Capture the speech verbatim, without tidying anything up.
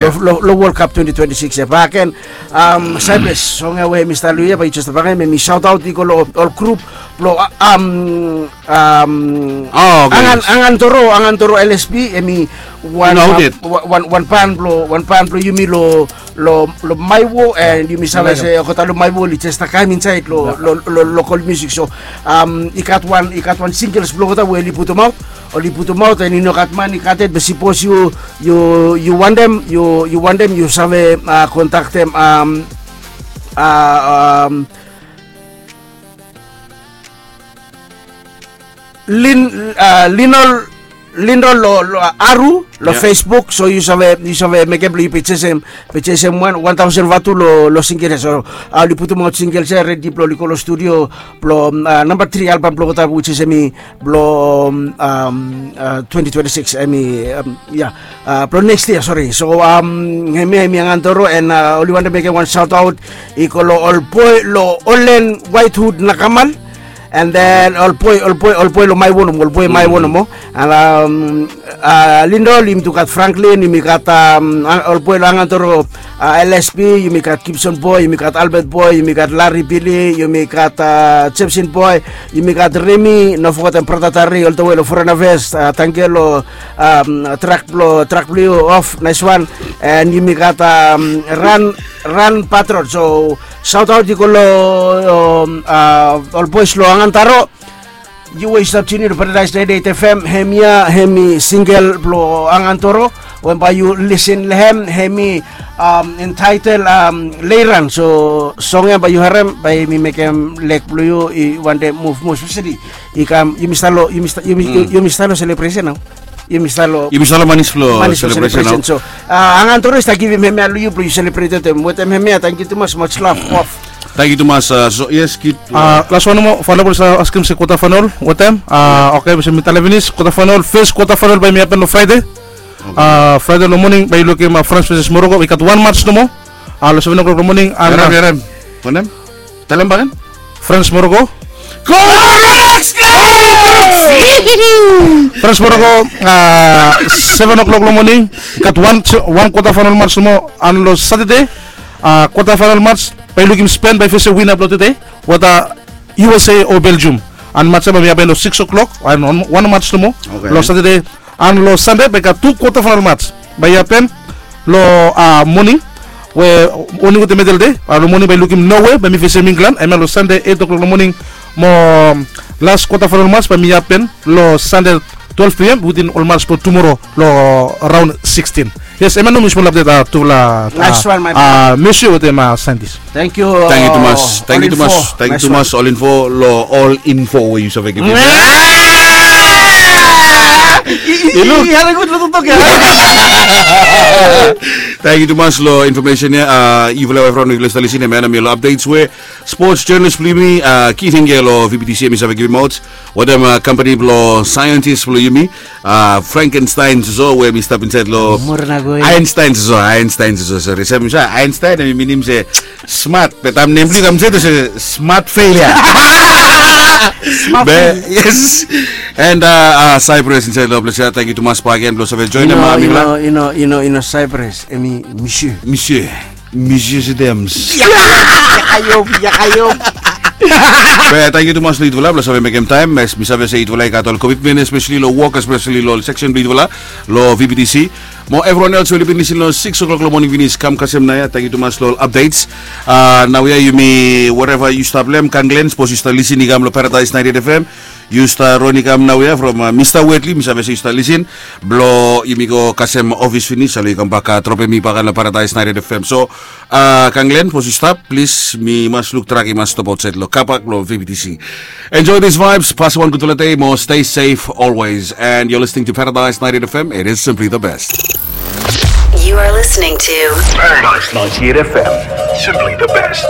Lo, lo, lo World Cup twenty twenty-six ya. Baken, um, Cyprus, song ya we mi stap luya, ba yu jes baken, mi shout out i go lo ol grup, lo, um, um, Oh, okay. Angan, Angantoro, Angantoro L S P, emi wan, Noted. Wan, wan, wan pan blo, wan pan blo yumi lo, lo, lo Maiwo, and yumi save se, kota lo Maiwo, li jes takaem insaed lo, lo, lo, local music. So, um, i gat wan, i gat wan singles blo kota we li putum aot, oli putum aot, and i no gat man i gat et, be sipos yu, yu, yu wantem, yu, yu wantem, yu save, uh, kontaktem, um, uh, um, Lin, uh, Linol, Linol lo, lo, uh, Aru, lo Facebook, so yu save, yu save mekem blo yu pejesem, pejesem wan, wan taosen vatu lo, lo singel ya. So, uh, oli putum aot singel ya, redi blo oli go lo studio, blo, um, uh, namba tri album blo kota, which is emi, blo, um, um, uh, twenty twenty-six, emi, um, ya, uh, blo next year, sorry. So, um, hemi, hemi Angantoro, and, uh, oli wantem mekem wan shout out, i go lo ol boe, lo Olen Whitehood Nakamal, and then ol boe, ol boe, ol boe lo Maiwo nomo, ol boe Maiwo nomo. And, um, uh, Lindol, yumi tu gat Franklin, yumi gat, um, ol boe lo Angantoro, uh, L S P, yumi gat Gibson boe, yumi gat Albert boe, yumi gat Larry Billy, yumi gat, uh, Jepson boe, yumi gat Remi, no fogetem brata Tari, ol the way lo Foreign Affairs, uh, tangkiu lo, um, track blo, track blo yu off, nice one. And yumi gat, um, Ran, Ran Patrol. So, shout out i go lo, um, uh, ol boes lo Angantaro. Yu we yu stap tune in lo Paradise ninety-eight F M, hemia, hemi singel blo Angantoro. Wen bae yu lisen lo hem, hemi, um, entitled, um, Leiran. So, song ya bae yu harem, bae mi mekem leg blo yu i wantem muv moa speseli. I kam, yumi stap lo, yumi stap, yumi, yumi stap lo celebration nao. Yumi stap lo, yumi stap lo manis blo, manis blo celebration nao. So, uh, Angantoro i stap givim hemia lo yu blo yu celebrate wetem, wetem hemia, tangkiu tumas, much love, off. Tangkiu tumas, uh, so, yes, kid. Uh, las wan nomo, final blo yu stap askem se quarter final wetem. Uh, okay, be se mi talem finis, quarter final, first quarter final bae mi hapen lo Friday. Uh, Friday lo moning, bae yu lukim, uh, France versus Morocco, i gat wan match nomo. Uh, lo seven o'clock lo moning, and, harem, uh, harem. Wanem? Talem bakegen. France Morocco. Go! France Morocco, uh, seven o'clock lo moning. Gat wan, wan quarter final match nomo, and lo Saturday, uh, quarter final match, bae yu lukim Spain, bae yu fesem winner blo tede, whether U S A o Belgium. And match ya bae mi hapen lo six o'clock, and wan, wan match nomo. Okay. Lo Saturday, and lo Sande bae gat tu quarter final match bae i hapen lo, uh, moning, we oni wetem medel de, uh, lo moning bae yu lukim Norway bae mi fesem England, hemia lo Sande eight o'clock lo moning, mo, um, las quarter final match bae mi hapen lo Sande twelve P M, wetem ol match blo tumoro lo round sixteen. Yes, hemia nomo mi smol update, uh, tufala, uh, nice one, my brother. Monsieur wetem, uh, scientist. Tangkiu. Tangkiu tumas. Tangkiu tumas. Tangkiu tumas, All Info, lo All Info we yu save givim. I luk. Tangkiu tumas lo information ya, uh, yufala evriwan we yufala stap lisin, hemia nomo lo updates we sports journalist blo yumi, uh, Keith Hinge lo V B T C, hemi save givim aot. Wetem, uh, company blo scientist blo yumi, uh, Frankenstein soso, we mi stap insaed lo Einstein soso, Einstein soso, sorry. Sem, Einstein hemi minim se smart, be taem nem blo yu kam se, to se smart failure. Smart failure. Yes. And, uh, uh, Cyprus insaed lo ples ya, tangkiu tumas bakegen blo save joenem, uh, mifala. Yu no, yu no, yu no Cyprus, hemi Monsieur. Monsieur. Monsieur Sidems. Ya, ya, ya, ya. Be tangkiu tumas lo yufala blo save mekem taem, as mi save se yufala i gat ol commitment, especially lo work, especially lo section blo yufala lo V B T C. Mo evriwan els we oli bin lisin lo six o'clock lo moning finis, kam kasem naoia, tangkiu tumas lo ol updates. Uh, naoia yumi, wherever yu stap, Lem, Kanglen, sipos yu stap lisin i kam lo Paradise ninety-eight F M, yu stap ron i kam naoia from, uh, Mista Wetli, mi save se yu stap lisin. Blo yumi go kasem ofis finis, ale yu kambak, uh, dropem mi bak lo Paradise ninety-eight F M. So, uh, Kanglen, sipos yu stap, plis, mi mas luk trak i mas stap aotsaed lo kabak blo V B T C. Enjoy these vibes, pasem wan gudfala dei mo stay safe always. And you're listening to Paradise ninety-eight F M, it is simply the best. You are listening to Paradise ninety-eight F M, simply the best.